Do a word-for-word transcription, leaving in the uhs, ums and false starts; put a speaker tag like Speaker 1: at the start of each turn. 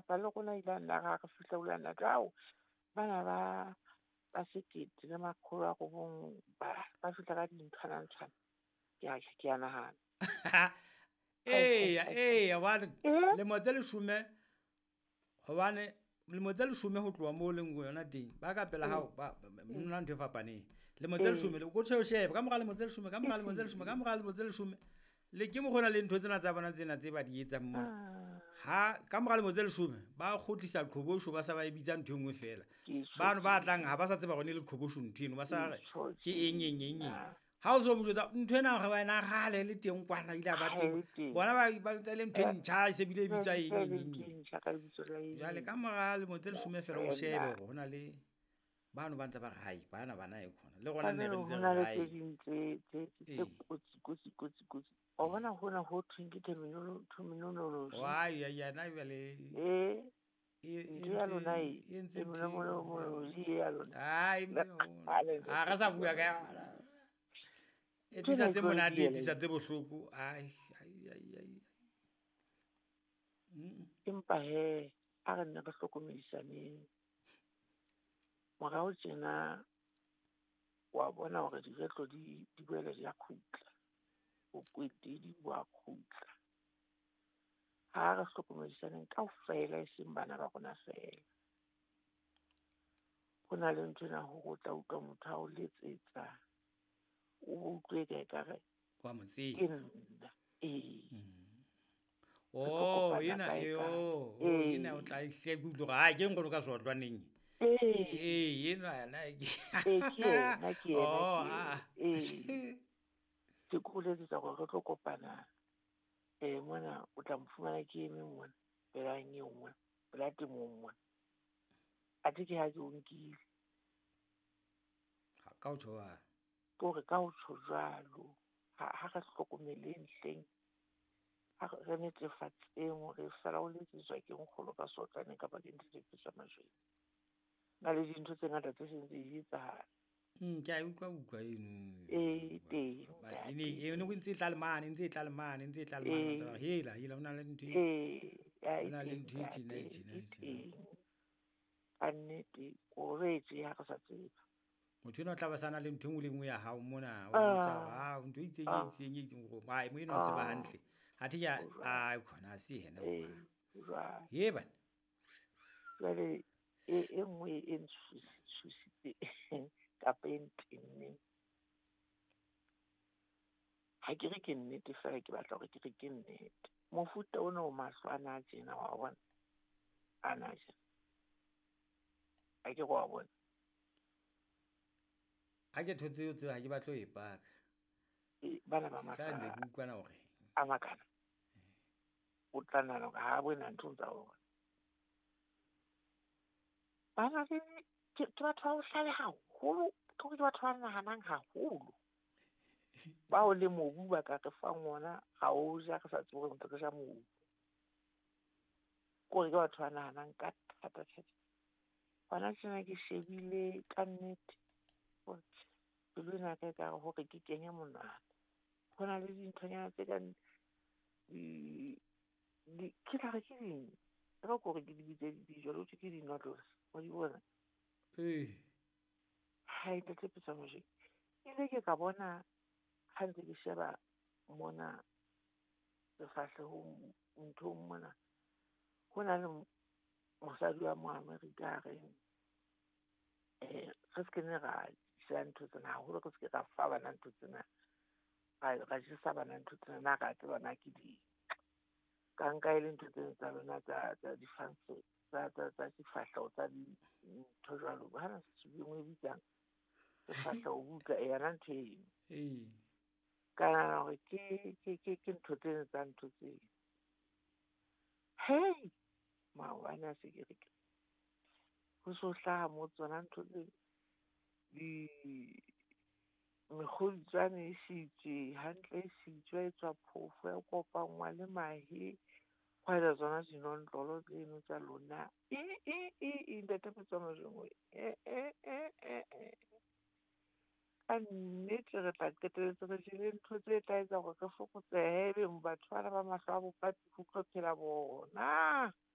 Speaker 1: Kapa le rona ile a nna ra re fihla o la nna ao bana ba ba sekete le makgolo a robong ba ba fihla ka dinthwana-nthwana. Ke a ke a nahana.
Speaker 2: Eya, eya, hobane
Speaker 1: Eh?
Speaker 2: lemo tse leshome, hobane lemo tse leshome ho tloha moo leng yona teng, ba ka pela hao ba nna ntho e fapaneng. Lemo tse
Speaker 1: Ee.
Speaker 2: leshome, ko tjhe o shebe ka mora lemo tse leshome, ka mora lemo tse leshome, ka mora lemo tse leshome. Le ke mokgwa o na le ntho tsena tsa bona tsena tse ba di etsang mona.
Speaker 1: Ah.
Speaker 2: Ha ka mora lemo tse leshome ba kgutlisa qhobosho, ba sa ba e bitsa ntho e nngwe fela.
Speaker 1: Ke tjho
Speaker 2: Bano ba
Speaker 1: tjena.
Speaker 2: tlang ha ba sa tseba hore ne le qhobosho ntho eno, ba sa re
Speaker 1: Ke tjho
Speaker 2: ke eng eng eng eng.
Speaker 1: tjena.
Speaker 2: Ha o so mo jwetsa ntho ena hore wena kgale le teng kwana ile ba
Speaker 1: Ha
Speaker 2: teng.
Speaker 1: e teng.
Speaker 2: Bona ba ba ntse le ntho e
Speaker 1: Eh,
Speaker 2: ntjha e se bile e bitswa eng
Speaker 1: e
Speaker 2: eng
Speaker 1: le
Speaker 2: eng
Speaker 1: ntho
Speaker 2: eng.
Speaker 1: e ntjha ka lebitso la eng.
Speaker 2: Jwale ka mora lemo tse leshome fela o shebe
Speaker 1: Morena.
Speaker 2: hore hona le bano ba ntse ba re hai bana bana e khona. Le rona ne re
Speaker 1: Kajeno
Speaker 2: ntse
Speaker 1: ho
Speaker 2: re
Speaker 1: na le
Speaker 2: hai.
Speaker 1: tse ding tse tse tse
Speaker 2: Ee.
Speaker 1: kotsi kotsi kotsi kotsi. Wa bona hona ho thweng ke terminolo terminology.
Speaker 2: Wa ya ya na jwale
Speaker 1: Eh,
Speaker 2: e e
Speaker 1: ntho ya lona
Speaker 2: entse
Speaker 1: e
Speaker 2: e entse ntho e
Speaker 1: terminology ya lona.
Speaker 2: Ai
Speaker 1: Le kgale
Speaker 2: ha re sa bua ka yona. E
Speaker 1: Ntho ena
Speaker 2: tlisa
Speaker 1: e
Speaker 2: tse
Speaker 1: tlo re
Speaker 2: monate, e
Speaker 1: diela
Speaker 2: tlisa
Speaker 1: ena.
Speaker 2: tse bohloko. Ai ai ai ai. Mm.
Speaker 1: Empa hee a re nne re hlokomedisaneng. Morao tjena wa bona hore diretlo di di boela di a kgutla. Bokwetedi bo a kgutla. Ha re hlokomedisaneng kaofela e seng bana ba rona feela. Ho na le nthwena hore o tla utlwa motho a o letsetsa, o utlwe eka ekare
Speaker 2: Wa mo
Speaker 1: ke
Speaker 2: tseba.
Speaker 1: nna. Ee.
Speaker 2: Mm.
Speaker 1: Re tlo
Speaker 2: Oh,
Speaker 1: kopana
Speaker 2: ena
Speaker 1: kae
Speaker 2: e
Speaker 1: kae.
Speaker 2: oh, oh, ena o
Speaker 1: Ee.
Speaker 2: tla hle ke utlwe hore hai ke nkgono ka sotlwaneng.
Speaker 1: Ee.
Speaker 2: Ee, enwa yena ke
Speaker 1: Ee, ke yena, ke yena,
Speaker 2: Oh,
Speaker 1: ke yena.
Speaker 2: ah.
Speaker 1: Ee. Ke ko letsetsa hore re tlo kopana eh mona o tla mfumana ke eme mona pela nyeo mona, pela temong mona. Athe ke ha ke o nkile.
Speaker 2: Ha ka o tjho jwalo.
Speaker 1: Ke hore ka ho tjho jwalo, ha ha re hlokomeleng hleng. Ha re netefatseng hore feela o letsetswa ke nkgono ka sotlwaneng kapa ke Ntate Phetsa Majweng. Na le dintho tse ngata tse seng di etsahala.
Speaker 2: Mm, ke a utlwa utlwa eno.
Speaker 1: Ee, teng
Speaker 2: Ba
Speaker 1: ntate.
Speaker 2: e ne e ne ntse e tla le mane, ntse e tla le mane, ntse e tla le mane.
Speaker 1: Ee.
Speaker 2: Hela, hela hona le ntho e
Speaker 1: Ee, ya e
Speaker 2: hona le
Speaker 1: teng
Speaker 2: ntho e tjena e
Speaker 1: ntate,
Speaker 2: tjena
Speaker 1: e
Speaker 2: e tjena.
Speaker 1: teng. Ka nnete o re ha re sa tseba.
Speaker 2: Motho enwa o tla ba sana le ntho e nngwe le nngwe ya hao mona, o botsa hore
Speaker 1: Ah.
Speaker 2: ah ntho e itseng e
Speaker 1: Ah.
Speaker 2: itseng e itseng hore ai mo enwa o tseba
Speaker 1: Ah.
Speaker 2: hantle. Athe ke a
Speaker 1: Ho jwalo.
Speaker 2: ai khona ha se yena
Speaker 1: Ee,
Speaker 2: hoba.
Speaker 1: ho jwalo.
Speaker 2: He bana.
Speaker 1: Jwale e e nngwe e ntshositseng kapa e ntenneng. Ha ke re ke nnete feela ke batla hore ke re ke nnete. Mofuta ona o mahlo ana a tjena wa bona, ana a tjena. Ha ke re wa bona.
Speaker 2: Ha ke thotse o tseba ha ke batle ho e paka.
Speaker 1: E, bana ba mahlo
Speaker 2: Feela ntse
Speaker 1: a
Speaker 2: ke utlwana hore
Speaker 1: a makana. O tla nahana hore ha bona ntho tsa bona. Bana le ke ke batho ba bohlale haholo, ke hore ke batho ba nahanang haholo. Bao le mobu ba ka re fang ona, ra o ja re sa tsebe hore ntse re ja mobu. Ke hore ke batho ba nahanang ka thata thata. Hona tjena ke shebile ka nnete hore pelo ena ya ka ekare hore ke kenye monwana. Ho na le dinthonyana tse kang di di ke tla re ke ding? E re ke hore ke di bitse dijo, ho thwe ke di-noodles, wa di bona?
Speaker 2: Ee.
Speaker 1: Hai Ntate Phetsa Mojeng, ile ke ka bona ha ntse ke sheba mona sefahlehong nthong mona, ho na le mosadi wa mo Amerika a reng eh re se ke ne ra ja ntho tsena haholo, re se ke ra fa bana ntho tsena, ra ra jesa bana ntho tsena, na ra tseba na ke di ka nka e le ntho tsena tsa lona tsa tsa difantsho tsa tsa tsa difahleho tsa dintho jwalo. Hana e nngwe e bitsang sefahleho buka e yona ntho eno.
Speaker 2: Ee.
Speaker 1: Ka nahana hore ke ke ke ke ntho tseno tsa ntho tseo. Hei, maobane a se ke re ke ho so hlaha mo tsona ntho tse di mekgodutswane e sitswe hantle, e sitswe ya etswa phofo ya kopanngwa le mahe. Hwa etswa tsona dinotlolo tseno tsa lona. E e e e Ntate Phetsa Mojeng e e e e e. Ka nnete re tla qetelletse re jele ntho tse tla etsa hore re fokotsehe, ebe batho bana ba mahlo a bopaki ho tlo phela bona.